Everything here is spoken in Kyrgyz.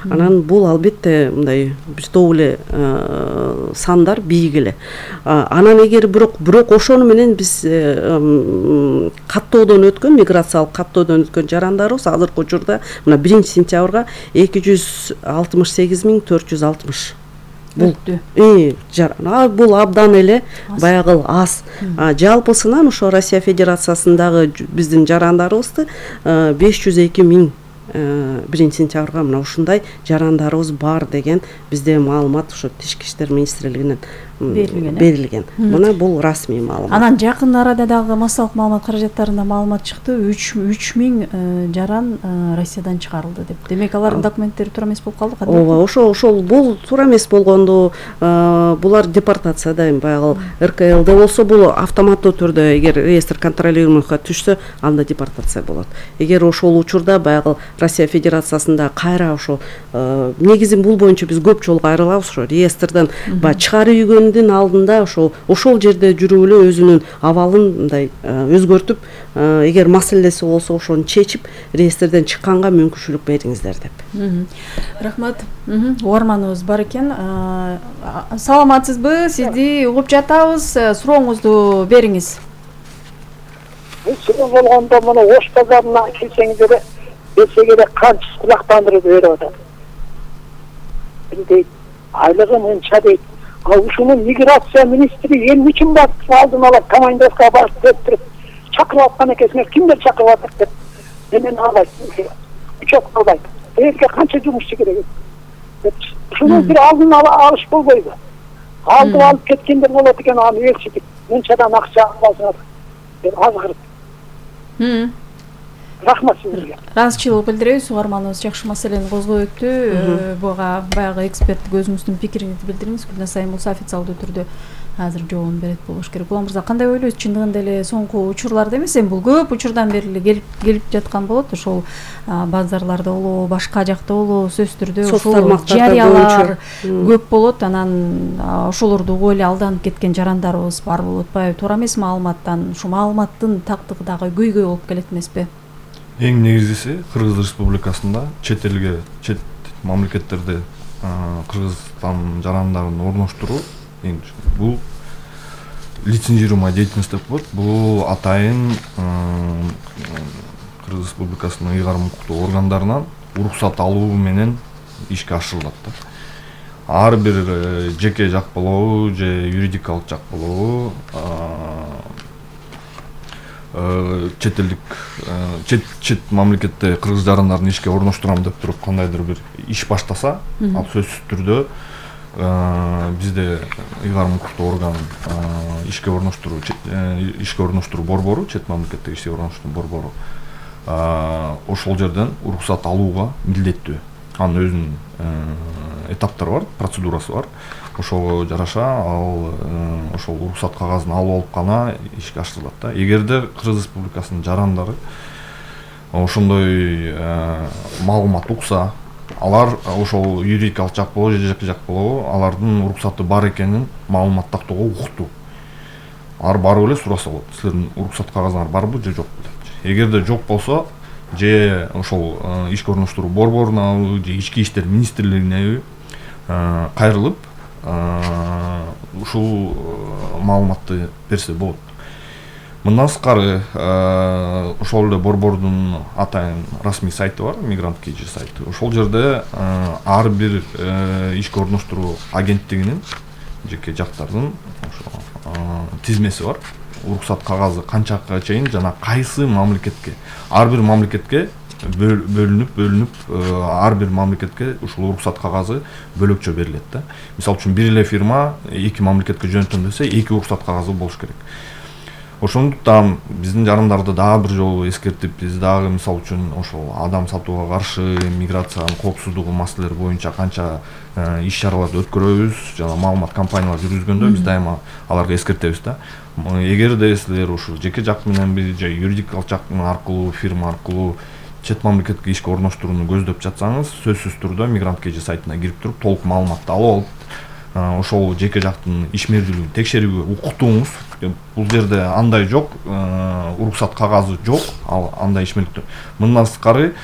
Анан бул албетте мындай бир топ эле сандар бийик эле. Анан эгер бирок ошону менен биз каттоодон өткөн миграциялык каттоодон өткөн жарандарыбыз азыркы учурда мына 1-сентябрга 268.460 бул абдан эле баягы аз. Жалпысынан ошо Россия Федерациясындагы биздин жарандарыбызды 502.000 1-сентябрга мына ушундай жарандарыбыз бар деген бизде маалымат ошо Тишки иштер министрлигинен берилген. Мына бул расмий маалымат. Анан жакын арада дагы массалык маалымат каражаттарында маалымат чыкты, 3000 жаран Россиядан чыгарылды деп. Демек алардын документтери туура эмес болуп калды. Ооба, ошол бул туура эмес болгонду, булар депортацияда эми баягы РКЛД болсо бул автоматтуу түрдө эгер реестр контролируемыйга түшсө, анда депортация болот. Эгер ошол учурда баягы Россия Федерациясында кайра ошо негизи бул боюнча биз көп жолу кайрылабыз, ошо реестрден чыгарып үйгөндүн алдында ошол жерде жүрүп эле өзүнүн абалын мындай өзгөртүп, эгер маселеси болсо ошону чечип, реестрден чыкканга мүмкүнчүлүк бериңиздер деп. Рахмат. Угарманыбыз бар экен. Саламатсызбы? Сизди угуп жатабыз. Сурооңузду бериңиз. Суроо болгондо муну Ош базарына келсеңиздер Бесегеде канча кулактандырып берип атат. Дейт, айлыгы мынча дейт. Ушуну миграция министри эмне үчүн барып алдын ала командировкага барып өттүрүп чакырып аткан экенсиңер, кимдер чакырып атат деп. Мен албайт. Учет албайт. Элге канча жумушчу керек деп. Ушуну бир алдын ала алыш болбойбу? Алдып алып кеткендер болот экен, аны ээрчитип, мынчадан акча аласыңар деп азгырып. Рахмат сизге. Ыраазычылык билдиребиз. Угарманыбыз жакшы маселени козгоп өттү. Буга баягы эксперттик өзүңүздүн пикириңизди билдириңиз. Гүлнасайым болсо официалдуу түрдө азыр жообун берет болуш керек. Улан мырза, кандай ойлойсуз? Чындыгында эле соңку учурларда эмес, эми бул көп учурдан бери эле келип жаткан болот. Ошол базарларда болобу, башка жакта болобу, сөзсүз түрдө ошол жарыялар көп болот. Анан ошолорду угуп эле алданып кеткен жарандарыбыз бар болуп атпайбы? Туура эмес маалыматтан, ушу маалыматтын тактыгы дагы көйгөй болуп келет эмеспи? Эң негизгиси Кыргыз Республикасында чет мамлекеттерде Кыргызстан жарандарын орноштуруу, бул лицензируемая деятельность деп коет. Бул атайын Кыргыз Республикасынын ыйгарым укуктуу органдарынан уруксат алуу менен ишке ашырылат да. Ар бир жеке жак болобу же юридикалык жак болобу, чет мамлекетте кыргыз жарандарын ишке орноштурам деп туруп кандайдыр бир иш баштаса, ал сөзсүз түрдө бизде ыйгарым укуктуу орган ишке орноштуруу борбору, чет мамлекетте ишке орноштуруу борбору ошол жерден уруксат алууга милдеттүү. Анын өзүнүн этаптары бар, процедурасы бар. Ошого жараша ал ошол уруксат кагазын алып алып гана ишке ашырылат да. Эгерде Кыргыз Республикасынын жарандары ошондой маалымат укса, алар ошол юридикалык жак болобу же жеке жак болобу, алардын уруксаты бар экенин маалымат тактоого укуктуу. Алар барып эле сураса болот. Силердин уруксат кагазыңар барбы же жокпу деп. Эгерде жок болсо, же ошол ишке орноштуруу борборуна же ички иштер министрлигине кайрылып ушул маалыматты берсе болот. Мындан сырткары ошол эле борбордун атайын расмий сайты бар, Мигрант KG сайты. Ошол жерде ар бир ишке орноштуруу агенттигинин жеке жактардын тизмеси бар. Уруксат кагазы канчага чейин жана кайсы мамлекетке, ар бир мамлекетке бөлүнүп ар бир мамлекетке ушул уруксат кагазы бөлөкчө берилет да. Мисалы үчүн бир эле фирма эки мамлекетке жөнөтөм десе, эки уруксат кагазы болуш керек. Ошондуктан биздин жарандарды дагы бир жолу эскертип, биз дагы мисалы үчүн ошол адам сатууга каршы, миграциянын коопсуздугу маселелери боюнча канча иш чараларды өткөрөбүз, жана маалымат кампаниялар жүргүзгөндө биз дайыма аларга эскертебиз да. Эгерде силер ушул жеке жак менен же юридикалык жак аркылуу, фирма аркылуу чет мамлекетке ишке орноштурууну көздөп жатсаңыз, сөзсүз түрдө Мигрант KG сайтына кирип туруп, толук маалыматты алып алып, ошол жеке жактын ишмердүүлүгүн текшерүүгө укуктуңуз. Бул жерде андай жок, уруксат кагазы жок, ал андай ишмердүүлүк. Мындан сырткары